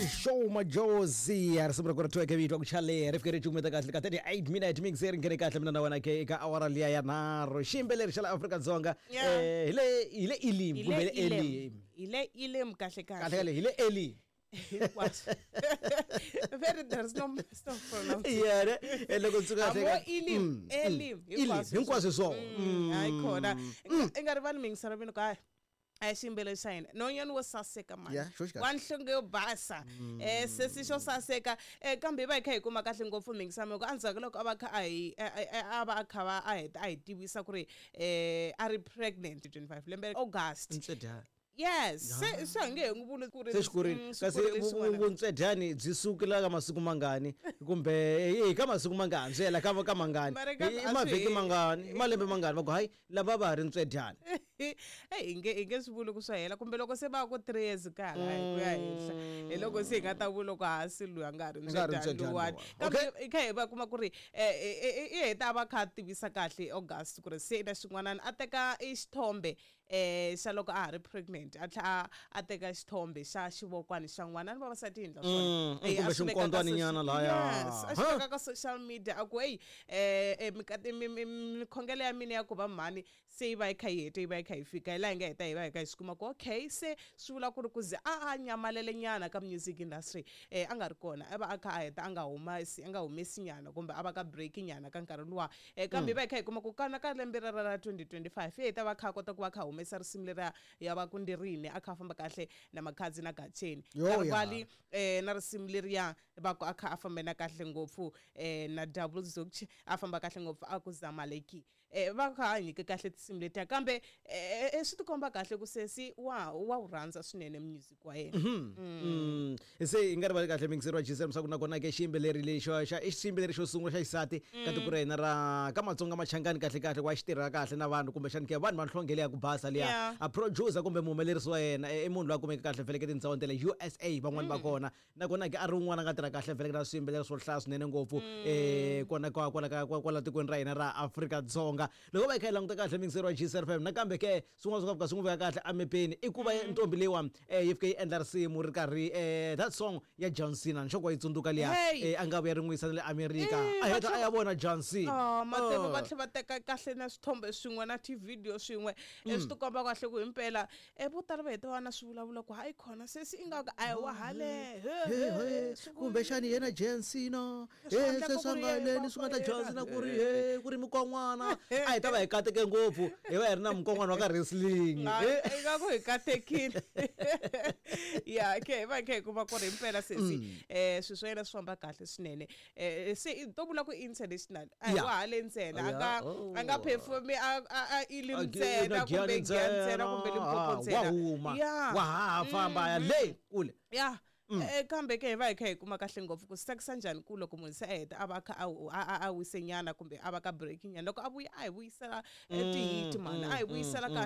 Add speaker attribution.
Speaker 1: Show Majozi a risimu ra ku ri tweke vito ku chale ri fike ri cukumeta kahle ka 38 minute mix ri nghene kahle mina na wena ke eka awara liya ya nharhu xiyimbeleri xa la Afrika-Dzonga.
Speaker 2: Yeah.
Speaker 1: Hi le Elim
Speaker 2: Hi
Speaker 1: kumbe
Speaker 2: le
Speaker 1: hi le Elim.
Speaker 2: Hi le Elim kahle kahle.
Speaker 1: Kahle kahle hi le Elim.
Speaker 2: Hinkwaswo. Very, there's no no pronunciation.
Speaker 1: Yeah ne. Loko ndzi kahle
Speaker 2: Amo Elim, Elim.
Speaker 1: Elim hinkwaswo hi swona.
Speaker 2: Hayi khona. I nga rivali mingiselo mina ka a xiyimbeleri xa hina nonyani wo saseka mani.
Speaker 1: Yeah, xo xi kahle.
Speaker 2: Wa nhlonge yo basa, sesi xo saseka, kambe hi va hi kha hi kuma kahle ngopfu mingisamo ku endzhaku loko a va kha a hi a va a kha va a heta a hi tivisa ku ri a ri pregnant 25 lembe August.
Speaker 1: Ntswedyani.
Speaker 2: Yes, se a nge he n'wi vuli ku ri
Speaker 1: Se xi kurile.
Speaker 2: Swi
Speaker 1: Kasi
Speaker 2: kurile xin'wana.
Speaker 1: vuntswedyani byi sukela ka masiku mangani kumbe hi ka masiku mangani, swi hela ka mangani?
Speaker 2: Mara
Speaker 1: i
Speaker 2: a swi
Speaker 1: mavhiki mangani, i malembe mangani va ku hayi lava va ha ri ntswedyani?
Speaker 2: Eyi, hi nge swi vuli ku swa hela kumbe loko se va ku 3 years ka hala hi ku ya henhla, hi loko se hi nga ta vula ku hasi loyi a nga ha ri
Speaker 1: A nga ha ri
Speaker 2: ntswedyani
Speaker 1: ntswedyani
Speaker 2: luwani.
Speaker 1: luwani.
Speaker 2: Kambe hi kha hi va kuma ku ri i heta a va kha a tivisa kahle August ku ri se i na xin'wanana, a teka i xithombe xa loko a ha ri pregnant, a tlhela a teka xithombe xa xivokwani xa n'wana ni vavasati hi endla swona.
Speaker 1: Kumbe
Speaker 2: A swi veka ka
Speaker 1: xinkondzwaninyana lahaya.
Speaker 2: Yes, a swi
Speaker 1: Ha?
Speaker 2: veka ka social media a ku eyi, mikhongelo ya mina ya ku va mhani se yi va yi kha yi hete, yi va yi kha yi fika hi laha hi nga heta hi va hi kha hi swi kuma ku okay, se swi vula ku ri ku ze a nyamalele nyana ka music industry, a nga ri kona, a va a kha a heta a nga humesi, a nga humesi nyana kumbe a va ka break nyana ka nkarhi luwa, kambe hi va hi kha hi kuma ku kana ka lembe rera ra 2025 hi heta va kha a kota ku va kha a humesa risimu leriya ya va ku ndirini, a kha a famba kahle na Makhadzi na Gatsheni.
Speaker 1: Yo, ya.
Speaker 2: Rivali na risimu leriya va ku a kha a fambe na kahle ngopfu na Double Zukch, a famba kahle ngopfu a ku Zamaleki, va kha a nyike kahle tinsimu letiya, kambe swi tikomba kahle ku sesi wa wu rhandza swinene music wa yena.
Speaker 1: Se hi nga rivali kahle mingiseri wa GCM swa ku nakona ke xiyimbeleri lexi xa i xiyimbeleri xo sungula xa xisati ka tiko ra hina ra ka Matsonga Machangani, kahle kahle wa xi tirha kahle na vanhu kumbexani ke vanhu va nhlonge leya ku basa liya. A producer kumbe muhumelerisi wa yena i munhu loyi a kumeke kahle vhele ke tindhawini ta le USA van'wani va kona, nakona ke a ri un'wana a nga tirha kahle vhele na swiyimbeleri swo hlaya swinene ngopfu kona kwala kwala tikweni ra hina ra Afrika-Dzonga. Loko va hi kha hi languta kahle mingiseri wa GCFM, nakambe ke swin'wana swi nga fika swi n'wi veka kahle emepeni i ku va ntombi leyiwa yi fike yi endla risimu ri karhi that song ya John Cena nxoko wa yi tsundzuka liya.
Speaker 2: Hey!
Speaker 1: A nga vuya ri n'wi yisa na le America, a
Speaker 2: va
Speaker 1: heta a ya vona John Cena.
Speaker 2: Oh, mateve va
Speaker 1: Oh.
Speaker 2: tlhela va teka kahle na swithombe swin'we na tivhidiyo swin'we, swi tikomba kahle ku himpela vo tala va heta va na swi vulavula ku hayi khona sesi ingaku a hi wa hale.
Speaker 1: He, he, kumbexani yena John Cena
Speaker 2: Swi
Speaker 1: he
Speaker 2: endleka
Speaker 1: se swa
Speaker 2: ku ri
Speaker 1: nga
Speaker 2: yena,
Speaker 1: leni swi nga ta
Speaker 2: ku ri
Speaker 1: John
Speaker 2: yena.
Speaker 1: Cena ku ri he ku ri mikon'wana a hi ta va hi kateke ngopfu, hi va hi ri na mukon'wana wa ka wrestling.
Speaker 2: Ingaku hi katekile ya ke hi va hi kha hi kuma ku ri himpela sesi swilo swa yena swi famba kahle swinene, se to vula ku international a hi wa hale ntsena a nga
Speaker 1: Oh.
Speaker 2: a nga performi a Elim ntsena kumbe Giyani ntsena kumbe Limpopo
Speaker 1: wa
Speaker 2: ntsena.
Speaker 1: Huma wa ha famba ya le kule.
Speaker 2: Ya, kambe ke hi va hi kha hi kuma kahle ngopfu ku swi tsakisa njhani ku loko munhu se a heta a va a kha a wise nyana kumbe a va ka break nyana, loko a vuya a hi vuyisela tihiti mani, a hi vuyisela kahle.